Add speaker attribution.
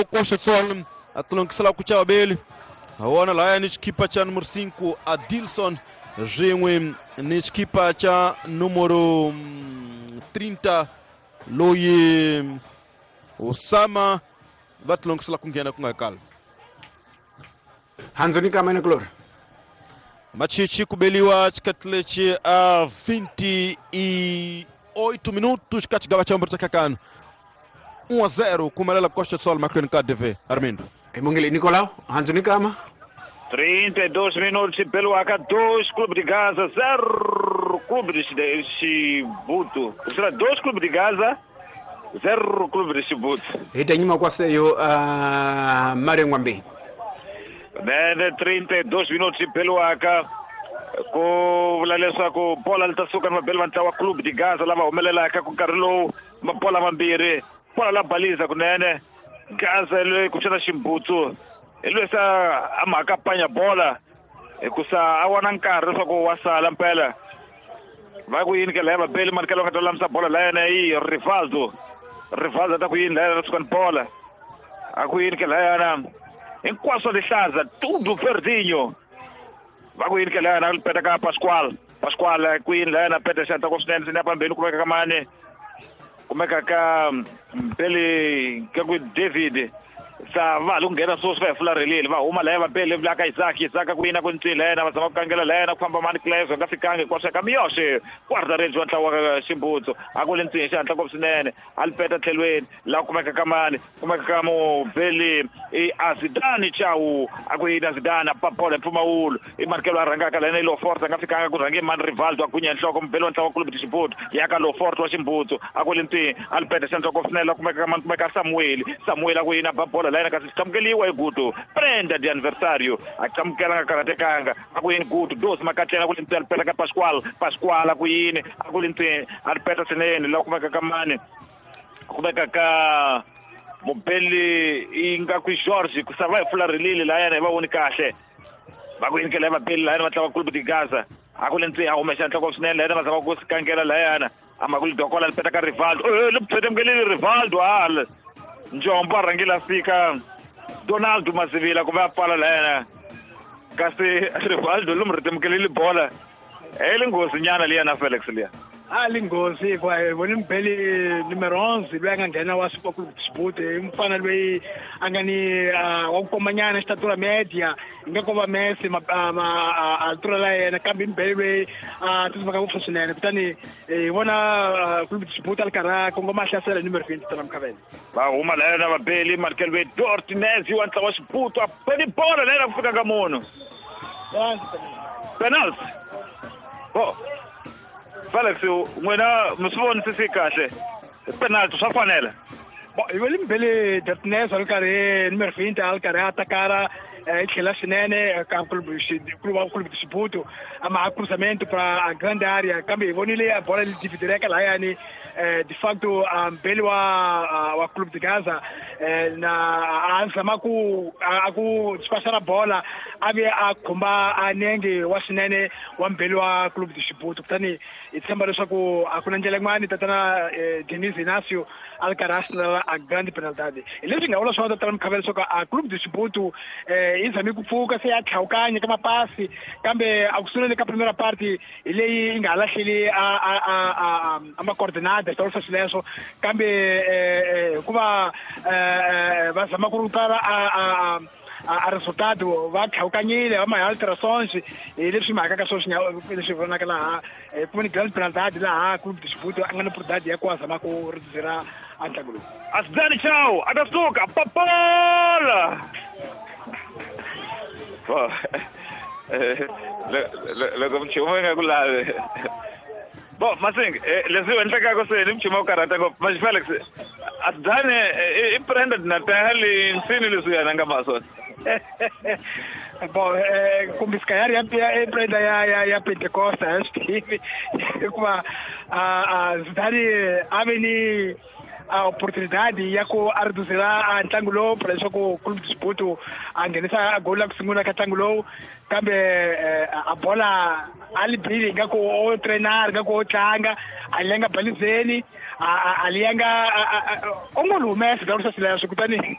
Speaker 1: Costa do Sol a tilongisela ku chava beli wona laya ni xikipa cha numero 5 Adilson swin'we ni xikipa cha numero 30 loyi Osama va tilongisela ku nghena ku nga kala.
Speaker 2: Hanzoni kama na Glory.
Speaker 1: Machichi kubeliwa xikati lexi a 28 minutos ka xigava xa mbirhi xa kakano 1-0 kumelela Costa do Sol mahlweni ka DV Armindo.
Speaker 2: Emongele Nicolau, Hanzoni kama
Speaker 3: 32 minutos pelo H2, Clube de Gaza 0, Clube de Chibuto. Será 2 Clube de Gaza, 0 Clube de Chibuto.
Speaker 2: Hita nyuma kwa seyo Mario Ngwambi.
Speaker 3: Nene 32 minutos pelo H ku vula leswaku bola li ta suka ni vabeli va ntlawa Clube de Gaza lava humelelaka ku nkarhi lowu mabola mambirhi bola la baliza kunene Gaza loyi kumbexana Ximbutsu hi loyi sa a mhaka panya bola hikusa a wana nkarhi leswaku wa sala mpela va ku yini ke laya vabeli manikelo va nga ta lulamisa bola la yena i Rivaldo. Rivaldo ta ku yini laya suka ni bola a ku yini ke layana hinkwaswo lihlaza tudo verdinho va ku yini ke layana peta ka Pascual. Pascual ku yini layana peta xanta ko swinene sini pambeni kumeka ka mani kumeka ka Mbeli ka ku David sa va ha ku nghena sweswi va hi fularhelile va huma laya vabeli la ka Isaac. Isaac ku yina ku ncila yena va zama ku kangela la yena ku famba mani Cleve nga fikangi hinkwaswo ka Miyoxe guarda-redes wa ntlawa wa Ximbutsu a ku le ntsini xihatla ngopfu swinene a li peta tlhelweni la kumeka ka mani kumeka ka mubeli i Azidani Chau a ku yini Azidani a ba bola hi mpfumawulo i markelo a rhangaka la yena i Lofort a nga fikanga ku rhange mani Rivaldo a gunya nhloko mubeli wa ntlawa wa Clube de Chibuto ya ka Lofort wa Ximbutsu a ku le ntsini a li peta xihatla ngopfu swinene la kumeka ka mani kumeka Samuel. Samuel a ku yini a ba bola la yena kasi xamukeliwa hi Guto prenda de aniversario a xamukela nga karhatekanga a ku yini Guto dos makatlela ku le ntsini a li peta ka Pascual. Pascual a ku yini a ku le ntsini a li peta swinene la kumeka ka mani kumeka ka mubeli i nga ku George ku sava hi fularhelile la yena hi va voni kahle va ku yini ke la vabeli la yena va tlanga Clube de Gaza a ku le ntsini a humesa nhloko swinene la yena va zama ku sikangela la yana a ma ku lidokola li peta ka Rivaldo li phetemkelile Rivaldo hala Njombo a rhangile a fika Donaldo Mazivila ku va a pfala la yena kasi Rivaldo lomu rhetemukelile bola e li nghozi nyana liya na Felix liya
Speaker 4: a li nghozi hikuva hi vone mubeli numero 11 loyi a nga nghena wa Super Club Sport i mufana loyi a nga ni wa ku komanyana xitatura media hi nga ko va Messi altura la yena kambe i mubeli loyi a tsutsumaka ngopfu swinene kutani hi vona Club Sport a li karhi a kongoma a hlasela numero 20 tana Mkhavela
Speaker 3: va huma la yena vabeli Markel ve Dortinez wa ntlawa wa Xibuto a beli bola la yena ku fika ka munhu penalty bo Felix n'wina mi swi vonisisi kahle penalty swa fanela
Speaker 4: bo hi vele mbele Dortinez a ri karhi numero 20 a ri karhi a takara i tlhela swinene ka Clube de Chibuto a ma cruzamento para a grande área kambe hi vonile a bola li dividireka lahayani de facto mbeli wa Clube de Gaza na a zama ku a ku despachar bola a ve a khumba a nenge wa swinene wa mbeli wa Clube de Chibuto kutani hi tshemba leswaku a ku na ndlela yin'wani tatana Denis Inacio a ri karhi a sinela a grande penalidade hi leswi nga vula swona tatana Mkhavela leswaku a Clube de Chibuto yi zame ku pfuka se ya tlhawukanya ka mapasi kambe a ku sunguleni ka primera parte hi leyi yi nga ha lahleli a macoordinada xitawulisa swileswo kambe hikuva va zama ku rupara a resultado va tlhawukanyile va ma alterações hi leswi mhaka ka sweswi leswi vonaka laha kumbe ni grande penalidade laha Clube de Chibuto a nga ni oportunidade ya ku a zama ku reduzira a ntlangu lowu.
Speaker 3: Azidani Chau a ta suka papola loko mchumu yi nga ku lavi bo Masing leswi endlekaka se ni mchumu wa ku karhata ngopfu manje Felix Azidani i prenda Natal nsini leswi yena nga ma swona
Speaker 4: bo kumbe se calhar ya prenda ya Pentecosta a swi tivi hikuva Zidane a ve ni a oportunidade ya ku a reduzira a ntlangu lowu para leswaku Clube de Chibuto a nghenisa goli la ku sungula ka ntlangu lowu kambe a bola a li bili ingaku o treinar ingaku o tlanga a li yanga balizeni a li yanga o ngo li humesa dawulisa swileswo kutani.